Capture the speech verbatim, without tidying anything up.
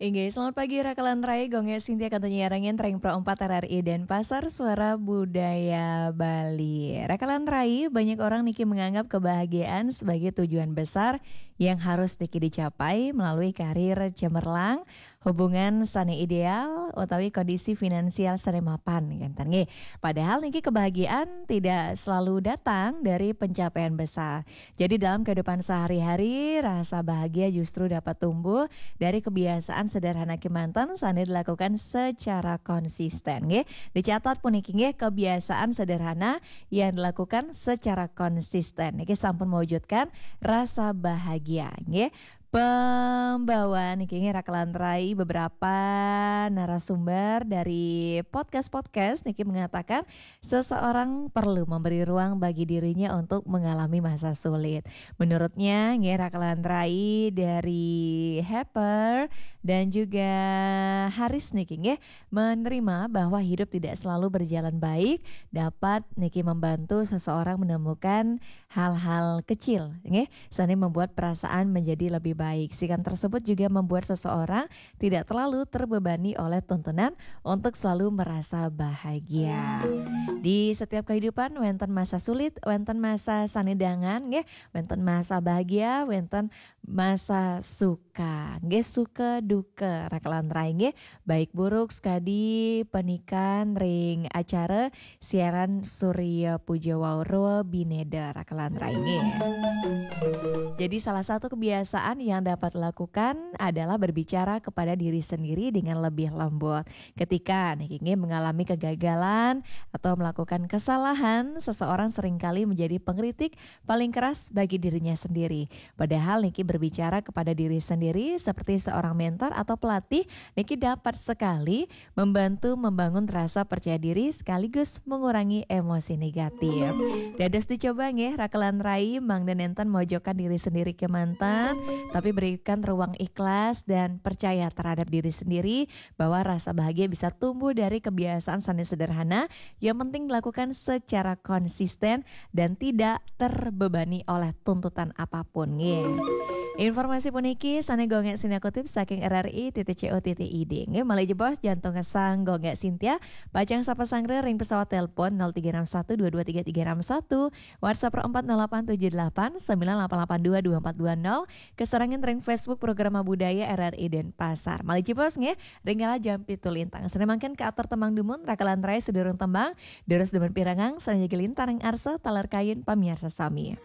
Inggih, selamat pagi Raka lan Rai, Gung Gé Sintia kantun nyarengin ring Pro empat R R I Denpasar, Suara Budaya Bali. Raka lan Rai, banyak orang niki menganggap kebahagiaan sebagai tujuan besar yang harus niki dicapai melalui karir cemerlang, hubungan sane ideal, utawi kondisi finansial sane mapan, ngenten nggih. Padahal niki kebahagiaan tidak selalu datang dari pencapaian besar. Jadi dalam kehidupan sehari-hari, rasa bahagia justru dapat tumbuh dari kebiasaan sederhana kemanten sane dilakukan secara konsisten, nggih. Dicatat puniki nggih, kebiasaan sederhana yang dilakukan secara konsisten. Niki sampun mewujudkan rasa bahagia, nggih. Pembawaan niki nggih, Raka lan Rai, beberapa narasumber dari podcast-podcast niki mengatakan seseorang perlu memberi ruang bagi dirinya untuk mengalami masa sulit. Menurutnya, nggih, Raka lan Rai, dari Harper dan juga Haris niki nggih, menerima bahwa hidup tidak selalu berjalan baik, dapat niki membantu seseorang menemukan hal-hal kecil, nggih, sane membuat perasaan menjadi lebih baik. Sikap tersebut juga membuat seseorang tidak terlalu terbebani oleh tuntunan untuk selalu merasa bahagia. Di setiap kehidupan wenten masa sulit, wenten masa sane dangan, nggih, wenten masa bahagia, wenten masa suka, nggih, suka duka, Raka lan Rai, nggih, baik buruk sekadi panikan ring acara siaran Surya Puja Wauro Bineda, Raka lan Rai, nggih. Jadi salah satu kebiasaan yang dapat dilakukan adalah berbicara kepada diri sendiri dengan lebih lembut. Ketika niki nggih mengalami kegagalan atau melakukan kesalahan, seseorang seringkali menjadi pengkritik paling keras bagi dirinya sendiri. Padahal niki berbicara kepada diri sendiri seperti seorang mentor atau pelatih, niki dapat sekali membantu membangun rasa percaya diri sekaligus mengurangi emosi negatif. Dados dicoba nggih, Raka lan Rai, mangda nenten mojokan diri sendiri kemanten, tapi berikan ruang ikhlas dan percaya terhadap diri sendiri bahwa rasa bahagia bisa tumbuh dari kebiasaan sane sederhana, yang penting dilakukan secara konsisten dan tidak terbebani oleh tuntutan apapun, nggih. Informasi puniki sane Gung Gé Sintia kutip saking R R I titik C O titik I D. Nggih, malih jebos jantung ngesang Gung Gé Sintia, pacang sapa sanggra ring pesawat telepon nol tiga enam satu dua dua tiga tiga enam satu, WhatsApp nol empat nol delapan tujuh delapan sembilan delapan delapan dua dua empat dua nol, kasarengan ring Facebook Programa Budaya R R I Denpasar. Malih jebos nggih, ring kala jam pitu lintang. Sane mangkin katur tembang dumun, Raka lan Rai, sedurung tembang, durus dumun pirengang, sane jagi lintang ring arsa taler kayun pamiarsa sami.